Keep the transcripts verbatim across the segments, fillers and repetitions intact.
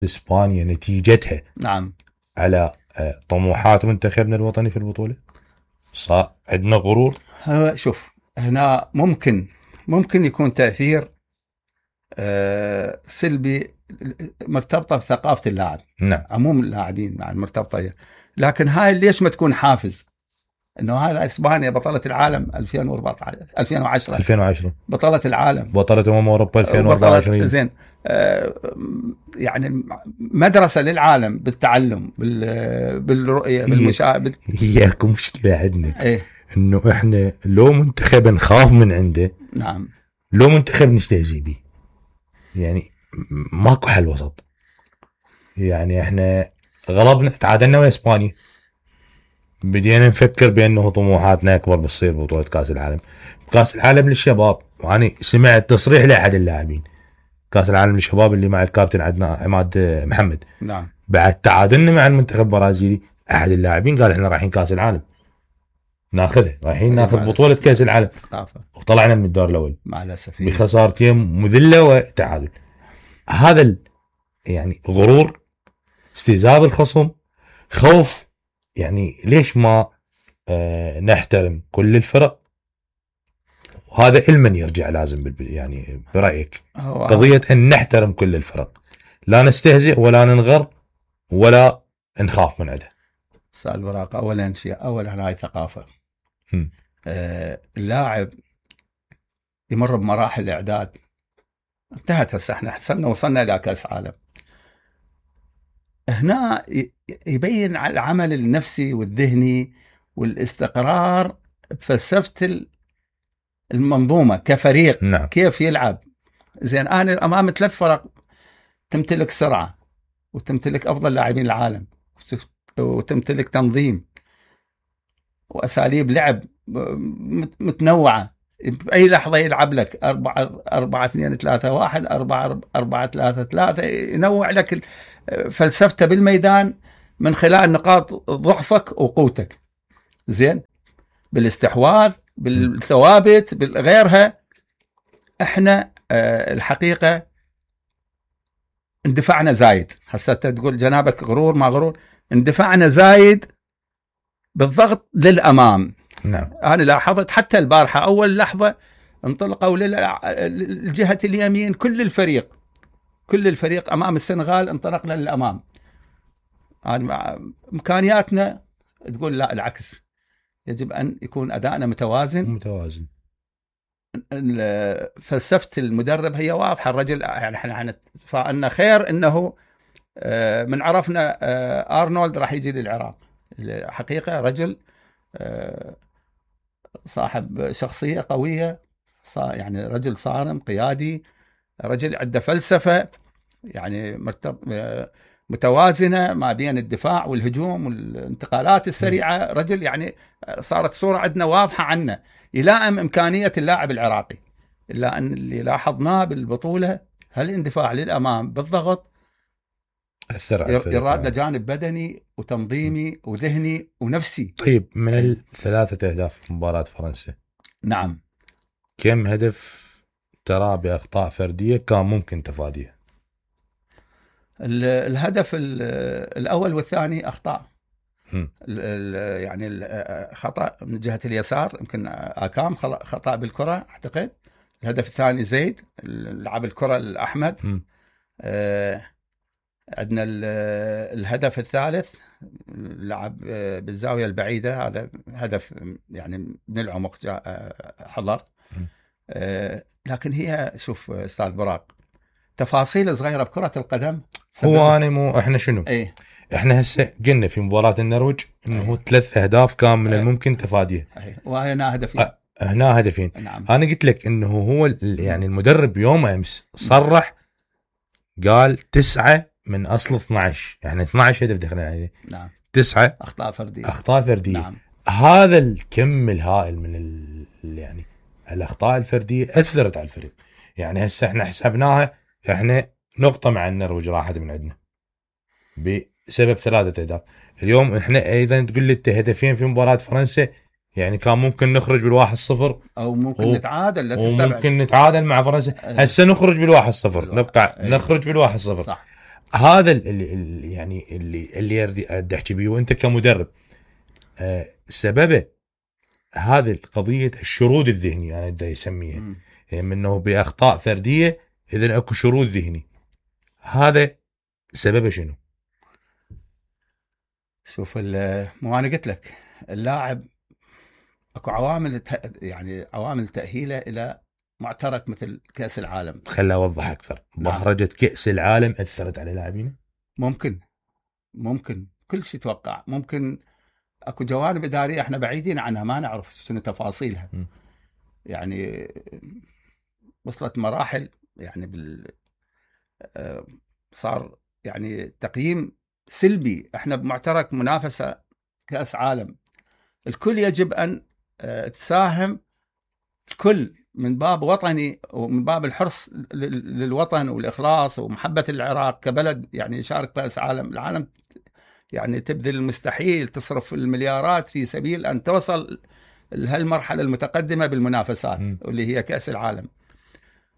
اسبانيا نتيجتها نعم على طموحات منتخبنا الوطني في البطوله؟ صار عندنا غرور. شوف هنا ممكن ممكن يكون تاثير آه سلبي مرتبطه بثقافه اللاعب. نعم. عموم اللاعبين مع المرتبطه، لكن هاي ليش ما تكون حافز؟ انه هذا اسبانيا بطله العالم ألفين وأربعة عشر ألفين وعشرة ألفين وعشرة بطله العالم، بطله امم اوروبا ألفين وأربعة وعشرين. زين آه يعني مدرسه للعالم بالتعلم بال بالرؤيه بالمشاهده. هي اكو مشكله عندنا ايه؟ انه احنا لو منتخب نخاف من عنده، نعم، لو منتخب نستهزئ به، يعني ماكو حل وسط. يعني احنا غلبنا تعادلنا ويا اسبانيا، بدينا نفكر بانه طموحاتنا اكبر بتصير بطولة كاس العالم. كاس العالم للشباب، وانا سمعت تصريح لاحد اللاعبين كاس العالم للشباب اللي مع الكابتن عندنا عماد محمد، نعم، بعد تعادلنا مع المنتخب البرازيلي، احد اللاعبين قال احنا رايحين كاس العالم ناخذه، رايحين ناخذ بطولة كاس العالم، وطلعنا من الدور الاول مع الاسف بخسارتين مذله وتعادل. هذا يعني غرور، استهزاء بالخصم، خوف. يعني ليش ما آه نحترم كل الفرق؟ وهذا المن يرجع لازم يعني برأيك قضية أن نحترم كل الفرق، لا نستهزئ ولا ننغر ولا نخاف من عندها. سؤال براق، أولا شيء أولا هاي ثقافة. آه اللاعب يمر بمراحل الإعداد، انتهت هسه احنا حسنا وصلنا إلى كأس عالم، هنا يبين على العمل النفسي والذهني والاستقرار بفلسفة المنظومة كفريق. نعم. كيف يلعب. زين أنا أمام ثلاث فرق تمتلك سرعة، وتمتلك أفضل لاعبين العالم، وتمتلك تنظيم وأساليب لعب متنوعة، بأي لحظة يلعب لك أربعة أربعة اثنين ثلاثة واحد أربعة أربعة ثلاثة ثلاثة، ينوع لك فلسفته بالميدان من خلال نقاط ضعفك وقوتك. زين، بالاستحواذ، بالثوابت، بالغيرها. احنا اه الحقيقة اندفعنا زايد. هسه تقول جنابك غرور ما غرور، اندفعنا زايد بالضغط للأمام. نعم. أنا لاحظت حتى البارحة أول لحظة انطلقوا للجهة اليمين، كل الفريق كل الفريق أمام السنغال انطلقنا للأمام. يعني إمكانياتنا تقول لا، العكس، يجب أن يكون أدائنا متوازن متوازن. فلسفة المدرب هي واضحة. الرجل يعني احنا فأن خير أنه من عرفنا أرنولد راح يجي للعراق. حقيقة رجل صاحب شخصية قوية، يعني رجل صارم قيادي، رجل عنده فلسفة يعني متوازنة ما بين الدفاع والهجوم والانتقالات السريعة. رجل يعني صارت صورة عندنا واضحة عنه يلائم إمكانية اللاعب العراقي. إلا أن اللي لاحظناه بالبطولة هالاندفاع للأمام بالضغط يراد لجانب بدني وتنظيمي وذهني ونفسي. طيب، من الثلاثة أهداف في مباراة فرنسا، نعم، كم هدف ترى بأخطاء فردية كان ممكن تفاديها؟ الهدف الأول والثاني أخطاء، يعني خطأ من جهة اليسار يمكن آكام خطأ بالكرة أعتقد. الهدف الثاني زيد لعب الكرة الأحمد. آه عندنا الهدف الثالث لعب بالزاوية البعيدة، هذا هدف يعني من العمق جاء حضر. آه لكن هي شوف أستاذ براق، تفاصيل صغيرة بكرة القدم. هو أنا مو إحنا شنو ايه؟ احنا هسه قلنا في مباراة النرويج انه أيه. ثلاث اهداف كان من أيه. الممكن تفاديها، أيه. وهنا هدفين. أه هنا هدفين. نعم. انا قلت لك انه هو يعني المدرب يوم امس صرح قال تسعة من اصل اثنا عشر، يعني اثنا عشر هدف دخلنا عليه. نعم. تسعة اخطاء فردية. اخطاء فردية. نعم. هذا الكم الهائل من ال... يعني الاخطاء الفردية اثرت على الفريق. يعني هسه احنا حسبناها، احنا نقطة مع النرويج راحت من عندنا بسبب ثلاثة أهداف. اليوم احنا ايضا تقول لي هدفين في مباراة فرنسا، يعني كان ممكن نخرج بالواحد صفر او ممكن و... نتعادل. لا تستبعد، وممكن نتعادل مع فرنسا. هسه نخرج بالواحد صفر، نبقى أيه. نخرج بالواحد صفر. صح. هذا اللي اللي يعني اللي اللي اريد احكي بيه، وانت كمدرب أه سببه هذه قضيه الشرود الذهني انا دا يسميها، يعني انه باخطاء فرديه اذا اكو شرود ذهني، هذا سببه شنو؟ شوف مو انا قلت لك اللاعب اكو عوامل يعني عوامل تاهيله الى معترك مثل كاس العالم. خليني اوضح اكثر. بهرجه كاس العالم اثرت على لاعبين؟ ممكن ممكن كل شيء يتوقع. ممكن اكو جوانب اداريه احنا بعيدين عنها ما نعرف شنو تفاصيلها. م. يعني وصلت مراحل يعني بال صار يعني تقييم سلبي. احنا بمعترك منافسه كاس عالم، الكل يجب ان تساهم، الكل من باب وطني ومن باب الحرص للوطن والاخلاص ومحبه العراق كبلد يعني يشارك كاس عالم. العالم يعني تبذل المستحيل، تصرف المليارات في سبيل ان توصل لهالمرحله المتقدمه بالمنافسات م. واللي هي كاس العالم.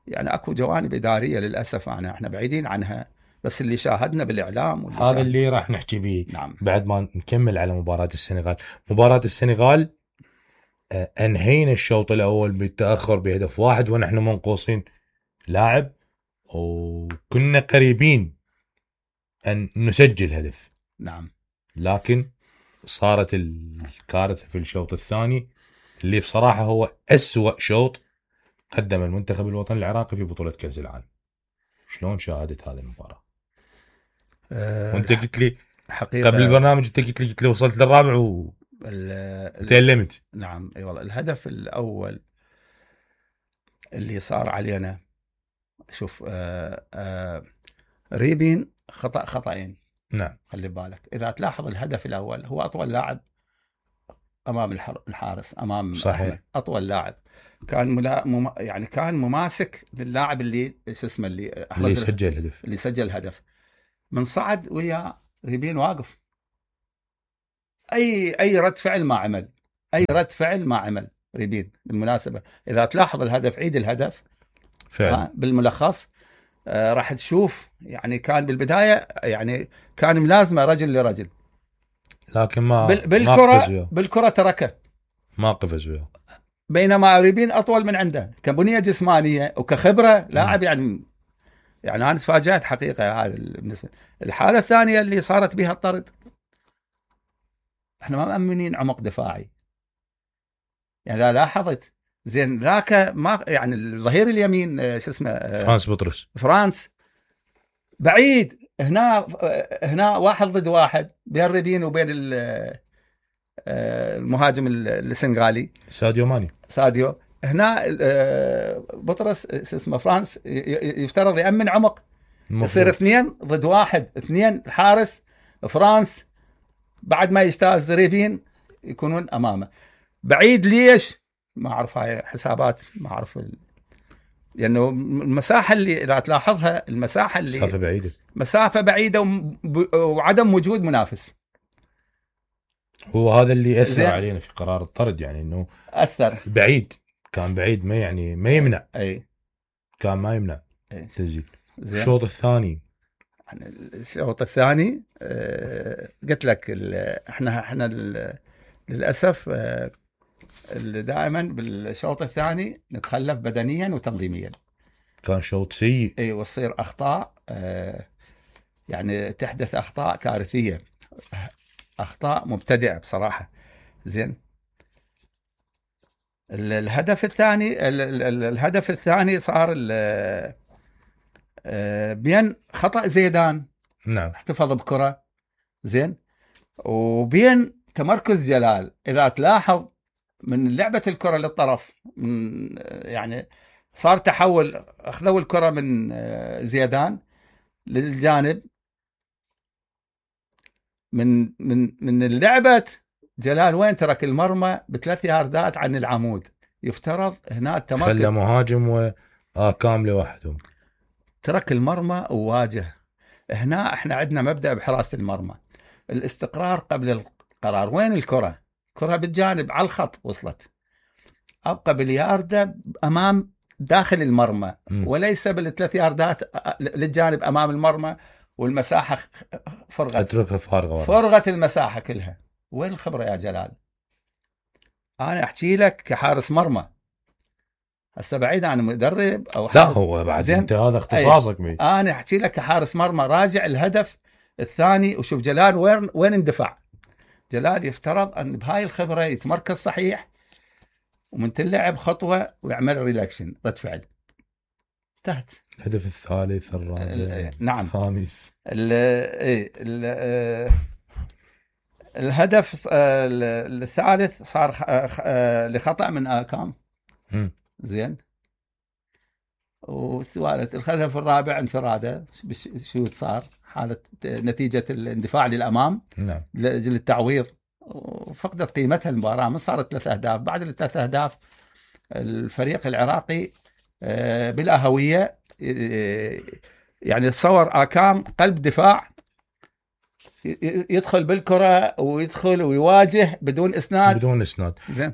يعني اكو جوانب اداريه للاسف انا احنا بعيدين عنها، بس اللي شاهدنا بالاعلام واللي هذا اللي راح نحكي به. نعم. بعد ما نكمل على مباراه السنغال. مباراه السنغال انهينا الشوط الاول بالتاخر بهدف واحد ونحن منقوصين لاعب، وكنا قريبين ان نسجل هدف. نعم. لكن صارت الكارثه في الشوط الثاني اللي بصراحه هو أسوأ شوط قدم المنتخب الوطني العراقي في بطوله كاس العالم. شلون شاهدت هذه المباراه؟ أه وانت قلت لي حقيقة قبل البرنامج، انت قلت لي قلت لي وصلت للرابع و تألمت. نعم اي والله. الهدف الاول اللي صار علينا، شوف آآ آآ ريبين خطأ خطأين. نعم. خلي بالك اذا تلاحظ الهدف الاول هو اطول لاعب امام الحارس، امام صحيح أحمد. اطول لاعب كان ملا... مم... يعني كان مماسك للاعب اللي ايش اسمه اللي اللي سجل الهدف اللي سجل الهدف من صعد ويا ريبين واقف. اي اي رد فعل ما عمل، اي رد فعل ما عمل ريبين. بالمناسبه اذا تلاحظ الهدف، عيد الهدف فعلا بالملخص آه راح تشوف يعني كان بالبدايه يعني كان ملازمه رجل لرجل، لكن ما بال... بالكره ما بالكره تركه ما قفز وياه، بينما ريبين اطول من عنده كبنيه جسمانيه وكخبره لاعب. يعني يعني انا تفاجات حقيقه. هذا بالنسبه. الحاله الثانيه اللي صارت بها الطرد، احنا ما مأمنين عمق دفاعي. يعني لا لاحظت زين ذاك ما يعني الظهير اليمين شو اسمه فرانس بطرس، فرانس بعيد هنا هنا واحد ضد واحد بين ريبين وبين المهاجم السنغالي ساديو ماني. ساديو هنا بطرس شو اسمه فرانس يفترض يأمن عمق، يصير اثنين ضد واحد، اثنين الحارس فرانس بعد ما يجتاز ريبين يكونون امامه بعيد. ليش؟ ما اعرف، هاي حسابات ما اعرف ال... لانه المساحه اللي اذا تلاحظها المساحه اللي مسافه بعيده مسافه بعيده وم... وعدم وجود منافس. هو هذا اللي اثر علينا في قرار الطرد، يعني انه اثر بعيد، كان بعيد ما يعني ما يمنع. اي كان ما يمنع أي. تسجيل. الشوط الثاني يعني الشوط الثاني آه قلت لك احنا احنا للاسف آه دائما بالشوط الثاني نتخلف بدنيا وتنظيميا. كان شوط سيء. اي وتصير اخطاء آه يعني تحدث اخطاء كارثيه، اخطاء مبتدعه بصراحه. زين الهدف الثاني الهدف الثاني صار بين خطأ زيدان، نعم، احتفظ بكرة زين، وبين تمركز جلال. إذا تلاحظ من لعبة الكرة للطرف من يعني صار تحول، أخذوا الكرة من زيدان للجانب، من من من اللعبة جلال وين ترك المرمى بثلاث ياردات عن العمود. يفترض هنا التمركز، خلى مهاجم وكامل لوحدهم، ترك المرمى وواجه. هنا احنا عندنا مبدأ بحراسة المرمى الاستقرار قبل القرار. وين الكرة؟ كرة بالجانب على الخط وصلت، أبقى بالياردة أمام داخل المرمى م. وليس بالثلاث ياردات للجانب أمام المرمى والمساحه فرغت، اتركها فارغه، فرغت المساحه كلها. وين الخبره يا جلال؟ انا احكي لك كحارس مرمى، هسه بعيد عن مدرب او لا هو بعد انت هذا اختصاصك بي. انا احكي لك كحارس مرمى، راجع الهدف الثاني وشوف جلال وين وين اندفع. جلال يفترض ان بهاي الخبره يتمركز صحيح، ومن تلعب خطوه ويعمل ريلاكشن رد فعل، انتهت. الهدف الثالث الرابع نعم الخامس، ال ال الهدف الثالث صار لخطأ من آكام. م. زين. والثالث الهدف الرابع انفراده، شو صار؟ حالة نتيجة الاندفاع للأمام، نعم، لأجل التعويض، وفقدت قيمتها المباراة. من صارت ثلاث أهداف، بعد الثلاث أهداف الفريق العراقي بلا هوية. يعني تصور آكام قلب دفاع يدخل بالكرة ويدخل ويواجه بدون إسناد، بدون إسناد. زين.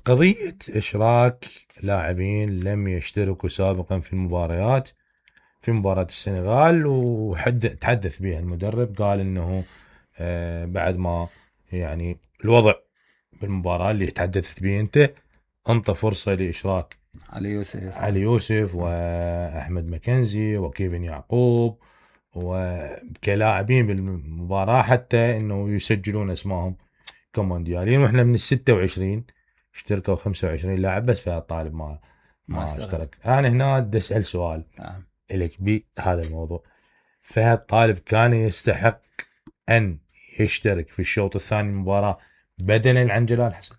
قضية إشراك لاعبين لم يشتركوا سابقا في المباريات، في مباراة السنغال، وحد تحدث بها المدرب، قال إنه بعد ما يعني الوضع بالمباراة اللي تحدثت به أنت أنطى فرصة لإشراك علي يوسف علي يوسف وأحمد مكنزي وكيفن يعقوب وكلاعبين بالمباراة، حتى إنه يسجلون اسمائهم كموندياليين. وإحنا من الستة وعشرين اشتركوا خمسة وعشرين لاعب، بس فهذا الطالب ما ما اشترك. أنا هنا بدي أسأل سؤال آه. إليك بهذا الموضوع. فهذا الطالب كان يستحق أن يشترك في الشوط الثاني من المباراة بدلا عن جلال حسن؟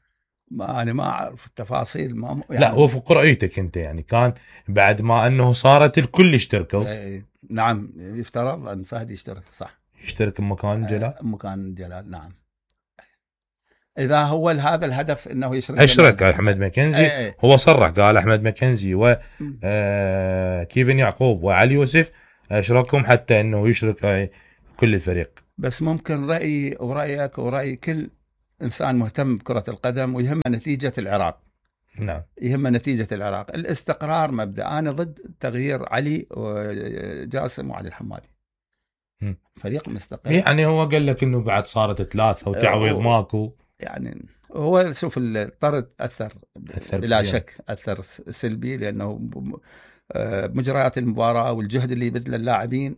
ما أنا ما أعرف التفاصيل، ما يعني لا هو في قرأيتك أنت يعني كان بعد ما أنه صارت الكل اشتركوا. ايه نعم، يفترض أن فهد يشترك، صح، يشترك مكان جلال. مكان جلال، نعم. إذا هو هذا الهدف أنه يشرك أشرك أحمد مكنزي. ايه ايه. هو صرح قال أحمد مكنزي وكيفن يعقوب وعلي يوسف أشركهم حتى أنه يشرك كل الفريق. بس ممكن رأيي ورأيك ورأي كل إنسان مهتم بكرة القدم ويهم نتيجة العراق. نعم، يهم نتيجة العراق، الاستقرار مبدأ. أنا ضد تغيير علي وجاسم وعلي الحمادي. م. فريق مستقر. يعني هو قال لك إنه بعد صارت ثلاثة وتعويض ماكو. يعني هو شوف الطرد أثر, أثر بلا كبير. شك أثر سلبي، لأنه مجريات المباراة والجهد اللي يبذله اللاعبين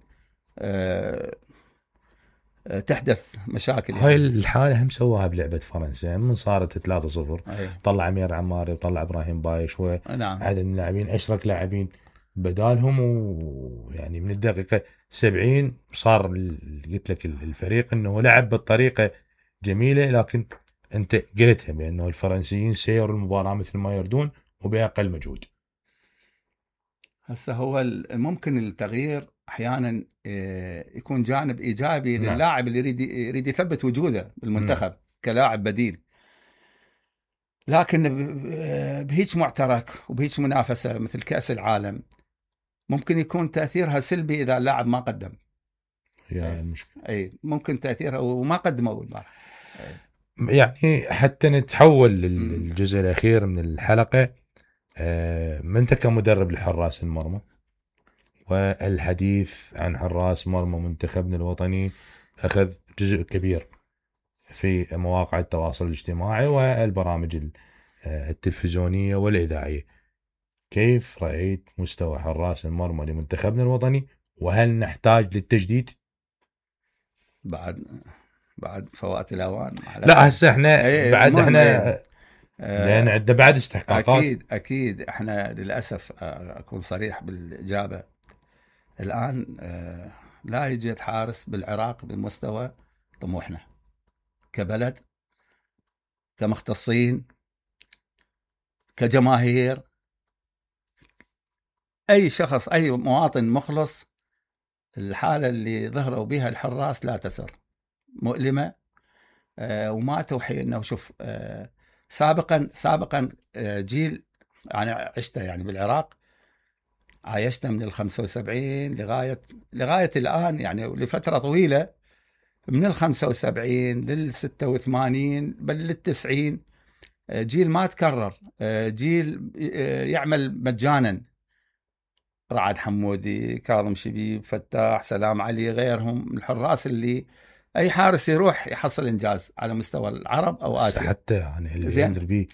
تحدث مشاكل. هاي يعني الحالة هم سواها بلعبة فرنسا من صارت ثلاثة صفر. طلع أمير عماري وطلع إبراهيم بايش وعدد من اللاعبين، أشرك لاعبين بدالهم، ويعني من الدقيقة سبعين صار قلت لك الفريق إنه لعب بالطريقة جميلة، لكن أنت قلتها بأنه الفرنسيين سيروا المباراة مثل ما يردون وبأقل مجهود. هسه هو ممكن التغيير احيانا يكون جانب ايجابي. نعم. للاعب اللي يريد يريد يثبت وجوده بالمنتخب. نعم. كلاعب بديل، لكن بهيج معترك وبهيج منافسه مثل كأس العالم ممكن يكون تاثيرها سلبي اذا اللاعب ما قدم. يعني المشكله اي ممكن تاثيرها وما قدموا بالمباراه. يعني حتى نتحول للجزء الاخير من الحلقه، من انت كمدرب لحراس المرمى والحديث عن حراس مرمى منتخبنا الوطني أخذ جزء كبير في مواقع التواصل الاجتماعي والبرامج التلفزيونية والإذاعية. كيف رأيت مستوى حراس المرمى لمنتخبنا الوطني، وهل نحتاج للتجديد بعد بعد فوات الأوان؟ لا هسه احنا بعد احنا لأن عندنا بعد استحقاقات. أكيد أكيد احنا للأسف أكون صريح بالإجابة، الآن لا يوجد حارس بالعراق بمستوى طموحنا كبلد، كمختصين، كجماهير. أي شخص، أي مواطن مخلص، الحالة اللي ظهروا بها الحراس لا تسر، مؤلمة. وما توحي أنه شوف سابقا سابقا جيل أنا عشته يعني بالعراق، عايشنا من الخمسة وسبعين لغاية لغاية الآن، يعني لفترة طويلة، من الخمسة وسبعين للستة وثمانين بل للتسعين، جيل ما تكرر، جيل يعمل مجانا. رعد حمودي، كاظم شبيب، فتاح، سلام علي، غيرهم الحراس اللي اي حارس يروح يحصل انجاز على مستوى العرب او اسيا. حتى يعني اللي زين. ينذر بيه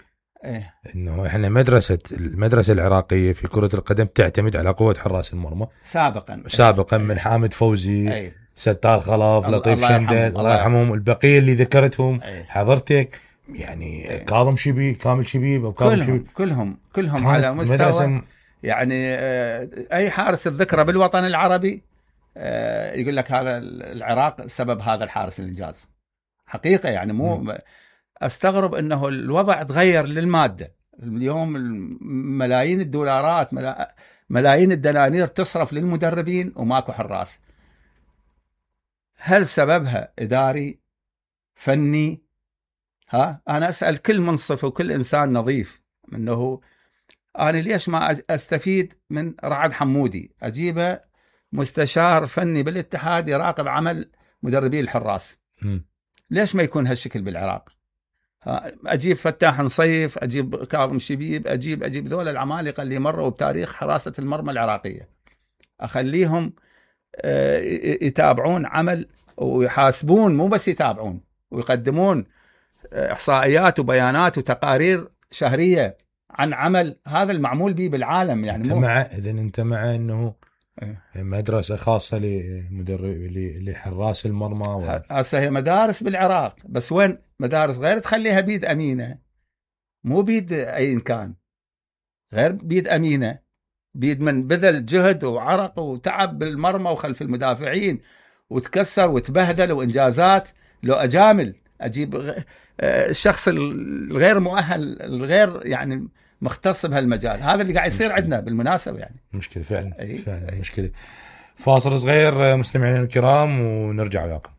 إيه. انه احنا مدرسه المدرسه العراقيه في كره القدم تعتمد على قوه حراس المرمى سابقا سابقا إيه. من حامد فوزي، إيه. ستار خلف، لطيف الله شندل، يرحمهم. الله يرحمهم، البقيه اللي ذكرتهم إيه. حضرتك يعني إيه. كاظم شبيب، كامل شبيب او كاظم كلهم شبيب كلهم كلهم على مستوى مدرسة. يعني اي حارس الذكرى بالوطن العربي يقول لك هذا العراق سبب هذا الحارس الانجاز حقيقه. يعني مو م. استغرب انه الوضع تغير للماده. اليوم ملايين الدولارات، ملايين الدنانير تصرف للمدربين وماكو حراس. هل سببها اداري فني؟ ها انا اسال كل منصف وكل انسان نظيف انه انا ليش ما استفيد من رعد حمودي، اجيبه مستشار فني بالاتحاد يراقب عمل مدربي الحراس. م. ليش ما يكون هالشكل بالعراق؟ اجيب فتاح نصيف، اجيب كاظم شبيب، اجيب اجيب ذول العمالقه اللي مروا بتاريخ حراسه المرمى العراقيه، اخليهم يتابعون عمل ويحاسبون، مو بس يتابعون، ويقدمون احصائيات وبيانات وتقارير شهريه عن عمل هذا المعمول به بالعالم. يعني انت مع اذا انت مع انه مدرسه خاصه لمدرب لحراس المرمى؟ هسه هي مدارس بالعراق، بس وين مدارس غير تخليها بيد امينه، مو بيد اي كان، غير بيد امينه، بيد من بذل جهد وعرق وتعب بالمرمى وخلف المدافعين وتكسر وتبهدل وانجازات. لو اجامل اجيب الشخص الغير مؤهل الغير يعني مختص بهالمجال، هذا اللي قاعد يصير عندنا بالمناسبه. يعني مشكله فعلا. أي. فعلا أي. مشكله. فاصل صغير مستمعينا الكرام ونرجع وياكم.